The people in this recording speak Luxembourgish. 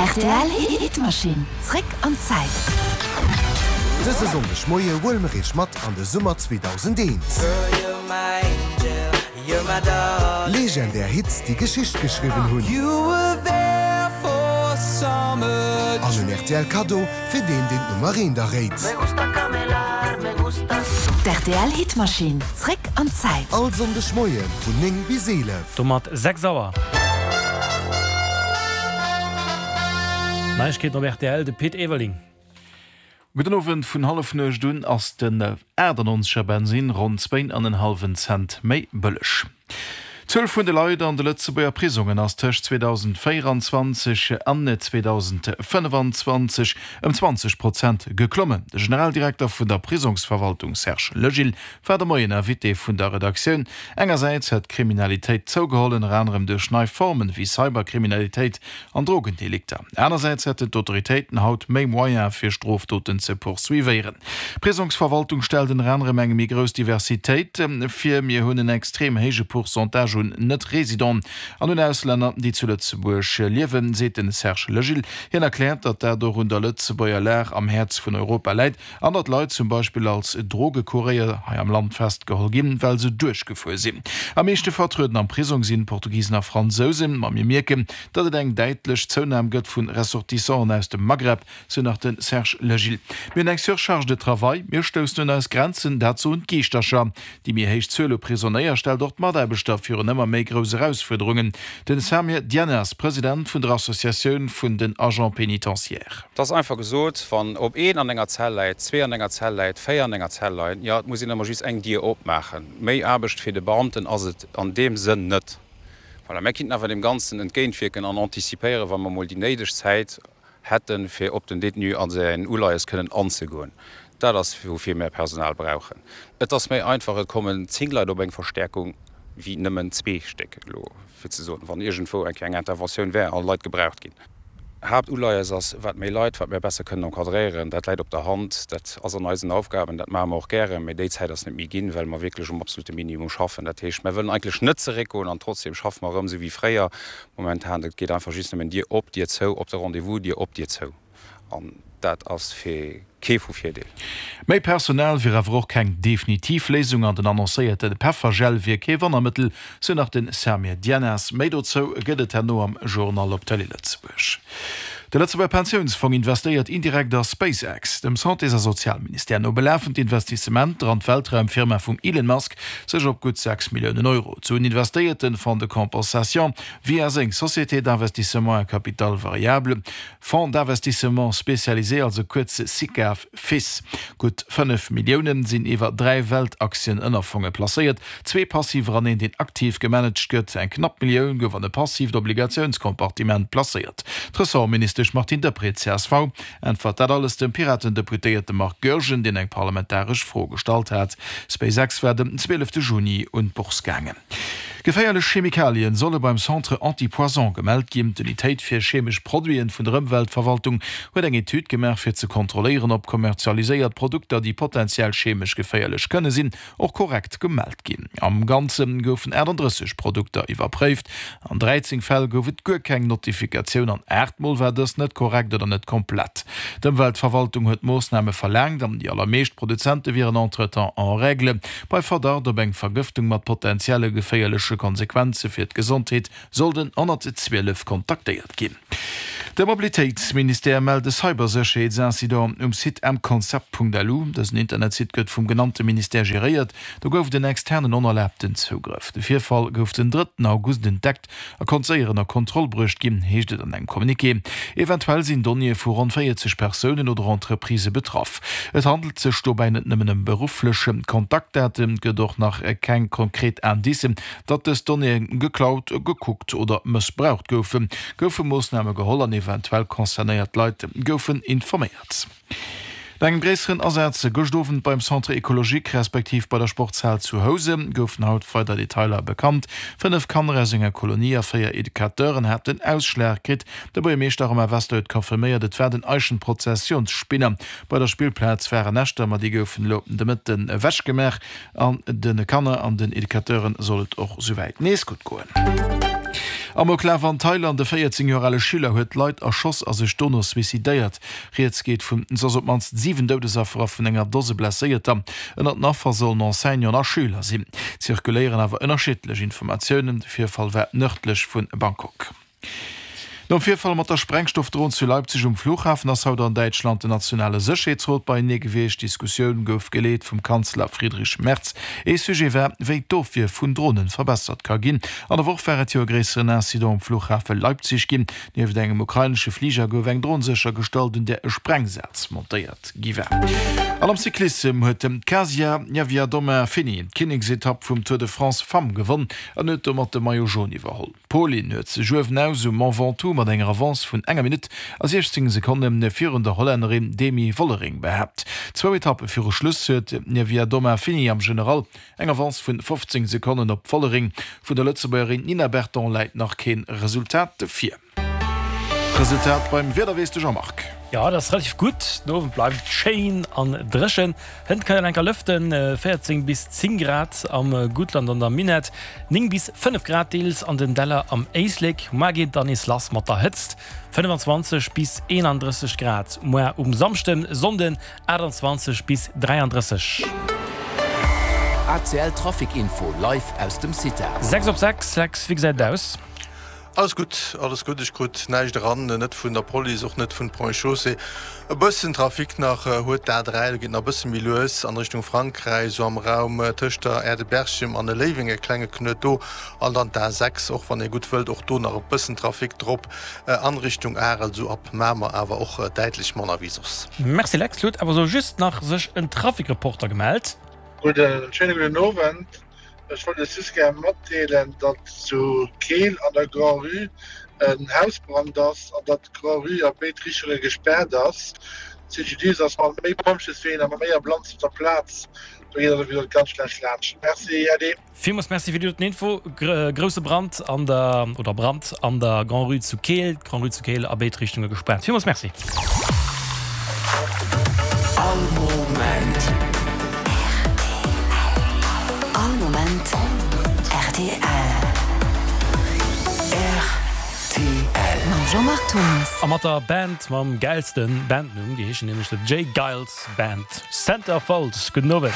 Rtl Hitmaschinn, zréck an d'Zäit. Dëse Sonndeg Moie huele mer iech mat an de Summer 2001. Legendär Hits, déi Geschicht geschriwwen hunn. An en rtl Kaddo fir deen, deen d'Nummer eent erréit. D'RTL Hitmaschinn, zréck an d'Zäit. All Sonndeg Moie vun 9 bis 11. Domat 6 Auer. Neiegkeeten op rtl, de Pit Everling. Gudden Owend, Vun Hallefnuecht un ass den 98 er Bensinn ronn zwéin an en hallwen Cent méi bëlleg. D'Zuel vun de Leit an de Lëtzebuerger Prisongen ass tëscht 2024 an 2025 ëm 20 Prozent geklommen. De Generaldirekter vun der Prisongsverwaltung Serge Legil war de Moien Invité vun der Redaktioun. Engersäits hätt d'Kriminalitéit zougeholl, ënner anerem duerch nei Formen wéi Cyberkriminalitéit an Drogendelikter. Anersäits hätten d'Autoritéiten haut méi Moyene fir Strofdoten ze poursuivéieren. D'Prisongsverwaltung stellt ënner anerem eng méi grouss Diversitéit vir. Mir hunn en extrem héije Pourcentage un Net-Residenten an un Auslänner, déi zu Lëtzebuerg liewen, seet de Serge Legil. Hien erkläert, datt dat och un der Lëtzebuerger Lag am Häerz vun Europa läit. An datt Leit zum Beispill als Drogekuréier hei am Land festgeholl ginn, well se duerchgefuer sinn. Am meeschte vertrueden am Prisong sinn Portugisen a Fransousen. Ma mir mierken, datt et eng däitlech Zounam gëtt vu Ressortissanten aus dem Maghreb, sou nach de Serge Legil. Mir hunn eng Surcharge de travail, mir stoussen un eis Grenzen, dat soen d'Giischtercher. Déi méi héich Zuel u Prisonéier stellt och d'Mataarbechter virun ëmmer méi grouss Erausfuerderungen. Den Samir Dianas, President vun der Associatioun vun den Agents pénitentiaires. Et ass einfach gesot, wann op een an enger Zell läit, zwee an enger Zell läit, véier an enger Zell leien, jo, et muss een ëmmer just eng Dier opmaachen. Méi Aarbecht fir de Beamten ass et an deem Sënn net. Voilà, mär kinnten awer deem Ganzen entgéintwierken an antizipéieren, wa mer emol déi néideg Zäit hätten, fir op den Détenu a säin Uleies kënnen anzegoen. Dat ass, woufir mär Personal brauchen. Et ass méi einfach, et kommen 10 Leit op eng Verstärkung wéi nëmmen zwee Stéck elo, fir ze soen, wann iergendwou eng Kéier eng Interventioun wär a Leit gebraucht ginn. Haaptuleies ass, wat méi Leit, wat mär besser kënnen encadréieren. Dat läit op der Hand, dat ass an eisen Aufgaben, dat maache mer och gären, mä déi Zäit ass net méi ginn, well mer wierklech um absolute Minimum schaffen. Dat heescht, mär wëllen eigentlech net zeréckgoen an trotzdem schaffe mer erëm esou wéi fréier. Momentan, et geet einfach just nëmmen Dier op, Dier zou, op de Rendez-vous, Dier op, Dier zou. An dat ass fir kee vu Virdeel. Méi Personal wier awer och keng definitiv Léisung an den annoncéierte Peffergel wier kee Wonnermëttel, sou nach de Samir Djennas. Méi dozou gëtt et herno am Journal op Tëlee Lëtzebuerg. De Lëtzebuerger Pensiounsfong investéiert indirekt a SpaceX. Dem Santés a Sozialministère no belafen d'Investissementer an d'Weltraumfirma vum Elon Musk sech op gutt 6 Milliounen Euro. D'Suen investéiert den Fonds de compensation via seng Société d'investissement à capital variable, Fonds d'investissement spécialisé, also kuerz Sicav, Fis. Gutt 5 Milliounen sinn iwwer 3 Weltaktien-Ënnerfonge placéiert, zwee passiver an een deen aktiv gemanagt gëtt. Eng knapp Millioun gouf an e passiivt Obligatiounscompartiment placéiert. D'Ressortministesch Martine Deprez, csv, äntwert dat alles dem Piraten-Deputéierte Marc Goergen, deen eng parlamentaresch Fro gestallt hat. SpaceX war den 12 Juni un d'Bourse gaangen. Geféierlech Chemikalien solle beim Centre Antipoison gemellt ginn. D'Unitéit fir chemesch Produiten vun der Ëmweltverwaltung huet eng Etüd gemaach, fir ze kontrolléieren, ob kommerzialiséiert Produkter, déi potenziell chemesch geféierlech kënne sinn, och korrekt gemellt ginn. Am Ganze goufen 38 Produkter iwwerpréift. An 13 Fäll gouf et guer keng Notifikatioun an 8 Mol war dës net korrekt oder net komplett. D'Ëmweltverwaltung huet Moossname verlaangt an déi allermeescht Produzente wieren entretemps en règle. Bei Verdacht op eng Vergëftung mat potentielle geféierleche Konsequenze fir d'Gesondheet soll den 112 kontaktéiert ginn. De Mobilitéitsministère mellt e Cybersécherheetsincident um Site mconcept.lu. Dësen Internetsite gëtt vum genannte Ministère geréiert. Do gouf et en externen onerlaabten Zougrëff. De Virfall gouf den drëtten August entdeckt a konnt séier ënner Kontroll bruecht ginn, heescht et an engem Communiqué. Eventuell sinn Donnéeë vu ronn 40 Persounen oder Entreprisë betraff. Et handelt sech dobäi net nëmmen ëm berufflech Kontaktdaten. Et gëtt och nach keng konkret Indicen, Datt dës Donnéeë geklaut, gekuckt oder mëssbraucht goufen, goufe Moossname geholl an eventuell concernéiert Leit goufen informéiert. No engem gréisseren Asaz gëscht Owend beim Centre Ecologique respektiv bei der Sportshal zu Housen goufen haut weider Detailer bekannt. 5 Kanner aus enger Kolonie a 4 Educateuren haten Ausschlag kritt. De Buergermeeschter Romain Wester huet confirméiert, et war den Eichenprozessionsspinner. Bei der Spillplaz waren Näschter, ma déi goufen elo de Mëtten ewechgemaach. An de Kanner an den Educateuren soll et och souwäit nees gutt goen. Amoklaf an Thailand, E 14 Joer ale Schüler huet Leit erschoss a sech dono suicidéiert. Rieds geet vun soss op d'mannst 7 Doudesaffer a vun enger Dose Blesséierter. Ënnert den Affer sollen Enseignanten a Schüler sinn. Zirkuléieren awer ënnerschiddlech Informatiounen. De Virfall war nërdlech vu Bangkok. Nom Virfall mat der Sprengstoffdron zu Leipzig um Flughafen ass haut an Däitschland den nationale Sécherheetsrot beienee gewiescht. D'Diskussioun gouf geleet vum Kanzler Friedrich Merz. Ee Sujet war, wéi d'Ofwier vun Dronen verbessert ka ginn. An der Woch war et jo e gréisseren Incident um Flughafe Leipzig ginn. Nieft engem ukrainesche Fliger gouf eng Dron séchergestallt, un där e Sprengsaz montéiert gi war. An am Cyclissem huet d'Kasia Niewiadoma-Fini d'Kinneksetapp vum Tour de France Femmes gewonn an huet domat de Maillot Jaune iwwerholl. D'Polin huet sech uewenaus um Mont Ventoux mat enger Avance vun enger Minutt a 16 Sekonne virun der Hollännerin Demi Vollering behaapt. Zwou Etappe viru Schluss huet d'Niewiadoma-Fini am General Eng Avance vun 15 Sekonnen op Vollering. Vun der Lëtzebuergerin Nina Berton läit nach keen Resultat vir. D'Resultat beim Wieder weess de Jean-Marc. Jo, et ass relativ gutt. Den Owend bleift et schéin an dréchen. Hënt kann een enker lëften, 14 bis 10 Grad am Guttland an der Minett, 9 bis 5 Grad deels an den Däller am Éislek. Muar geet et dann nees lass mat der Hëtzt, 25 bis 31 Grad muar um Samschden, Sonnden 28 bis 33. ACL Trafic Info live aus dem CITA. 6 op 6, Lex, wéi gesäit et aus? Alles gutt, alles gutt. Ech krut näischt eran, net vun der Police, och net vun Ponts et Chaussées. E bëssen Trafic nach huet d'A3, do geet nach e bësse méi lues an Richtung Frankräich, esou am Raum tëscht der Aire de Berchem an Léiweng, e klenge Knuet do. An dann d'A6, och wann ee gutt wëllt, och do nach e bëssen Trafic drop an Richtung Arel, esou ab Mamer, awer och däitlech manner wéi soss. Merci Lex, lo huet awer sou just nach sech en Trafikreporter gemellt. Gudden, schéine gudden Owend. Ech wollt iech just gär matdeelen, datt zu Keel an der Grand-Rue en Hausbrand ass an datt d'Grand-Rue a béid Richtunge gespaart ass. CGDIS ass mat méi Pompjeesween a mat méi Ambulanzen op der Plaz. Do geet also wéi gesot ganz schlecht laanscht. Merci, Äddi. Villmools Merci fir déi doten Info. Grousse Brand an der, oder Brand an der Grand-Rue zu Keel. D'Grand-Rue zu Keel a béid Richtunge gespaart. Villmools Merci. All Moment. All Moment rtl. Rtl. Mam Jean-Marc Thomas. A mat der Band mam gäilsten Bandnumm, déi heeschen nämlech The J. Geils Band. Centerfold. Gudden Owend.